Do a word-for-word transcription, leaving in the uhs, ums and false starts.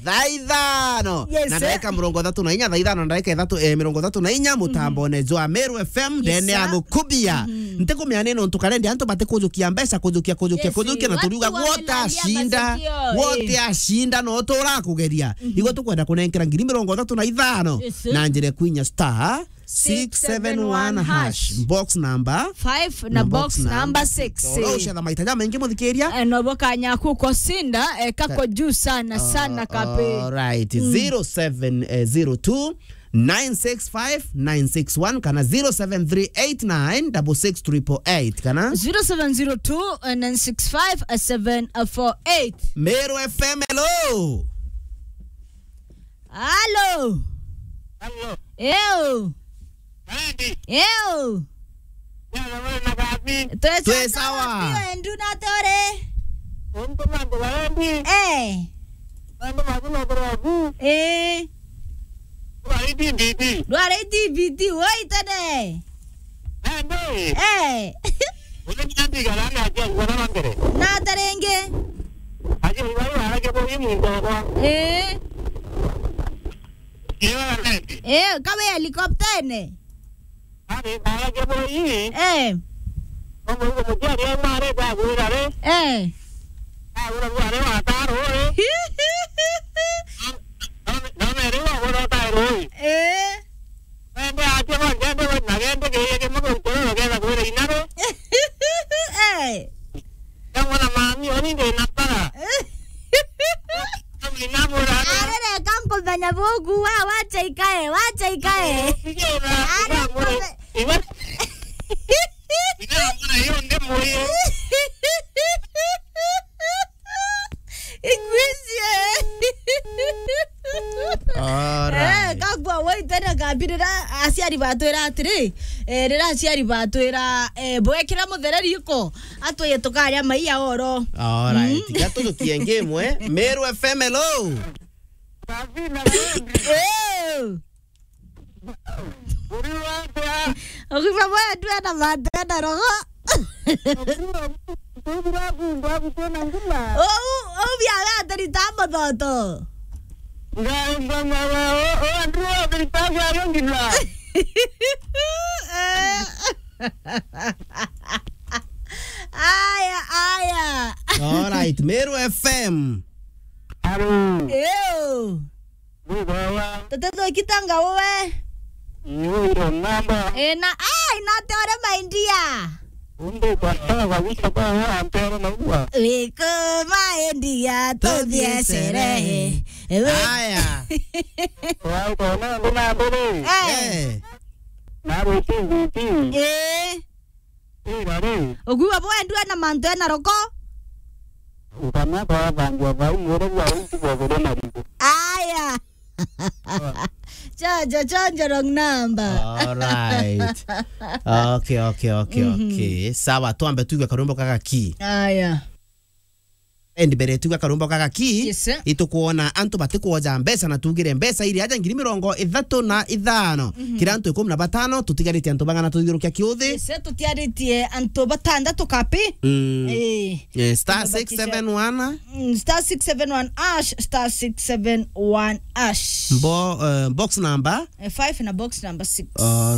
Thaa ithano. Yes, na sir. Ndagika mirongo ithatu na inya, thaa ithano na ndagika ithatu, eh, mirongo ithatu na inya, mutambone jwa Meru F M, yes, ndene ya sir. Gukubia. Mhm. Ntikumenya ni nontu karendi antu batikujukia mbeca, kujukia, kujukia, yes, kujukia, na watu turiuga, wamelalia wote ashinda, masikio, wote eh. Ashinda, no turakugeria. Mhm. Igwe tukwenda kunenkera ngiri mirongo ithatu na ithano, yes, sir. Na njira kwinya star six seven one hash. Box number five na box number six. Oro ucetha maita jamaingi muthikiria. Eh, no bo kanya kuko sinda, eh, kako juu sana, sana kape. All right. Mm. Zero seven zero two nine six five nine six one kana zero seven three eight nine double six triple eight kana zero seven zero two nine six five seven four eight. Meru F M, hello. Halo. Halo. Eo. Andy. Eo. Yana wewe na gabi. Twe sawa. Twe sawa. Pio endu na tore. Untu mambo barendi. Eh. Mambo mazima kwa wabu. Eh. Kwa hii D V D. Ndwara D V D, woi tene. Nandi. Eh. Ule ni andi garani atia ngwana wa mbere. Na taringi. Aje iwai arage bo imu ndogwa. Eh. Iwe arage. Eh, kawe helicopter-ine. Ari arage bo ii. Eh. Omo igo muciari auma ari ndagwira ri. Eh. Agura bware wa taro ri. None, none, none ri wa gura tairo ii. Eh. Ende atia ba ngende we na gende kiria kimwe gukora ugetha kwira inare. Eh. Kamwe na mami, oni ndi na para. Kamwe na mura. Arere kankumenya buku wa, wacha ikae, wacha ikae. Arere kambe- Iwe. Ina mura yo ndi muye. Ingwicie. All right. Eh, kagua woi tena kabirira aciari batwira atiri, eh, rira aciari batwira, eh, bwekira muthereri iko, atwiye tukaria maiya oro. All right. Mm. Tiga tujukie ngi imwe. Meru F M, hello. Sabina Wendi. Eh. Uri watia? Ugima bwa ndwena mate na roho. Uri watia? Uri watia? Uri watia? Ou, ou biaga atarita muthoto. Nga, nga, nga, nga, o, o, andru wa thirikari ayo ngila. Eh. Aya, aya. All right, Meru F M. Hello. Ew. Ni baba. Tete thukitanga uwe. Ni uyo namba. Eh, na, ai, na te ore my dear. Undi kwa sawa kabisa kwa wewe ampero na uwa. Wiko my dear, tuthie sherehe. Ewe. Aya. Wa uko na ndo na mbele. Eh. Eh. Na ro T V T. Eh. Ira ri. Ukiuga bwendua na mantu ena roko. Ukana kwa bangu wa bau mwere bwa uti kwa bure na rigo. Aya. Chonjo, chonjo, wrong number. All right. Okay, okay, okay, mhm, okay. Sawa, twambe tuigue karwimbo kaka ki. Aya. Endi mbere tuga karumbo kaka ki, yes, sir, itukwona antu batikwoja mbeca na tugire mbeca iri aja ngiri mirongo ithatu na ithano. Mhm. Kira antu ikumi na batano, tutigarite antu bang'ana tuthiurukia kiuthi? Yes, sir, tutiaritie antu batandatu kapi. Mm. Eh. Eh, star six seven one. Mm, star six seven one hash, star six seven one hash. Bo-, eh, box number? Eh, five na box number six. All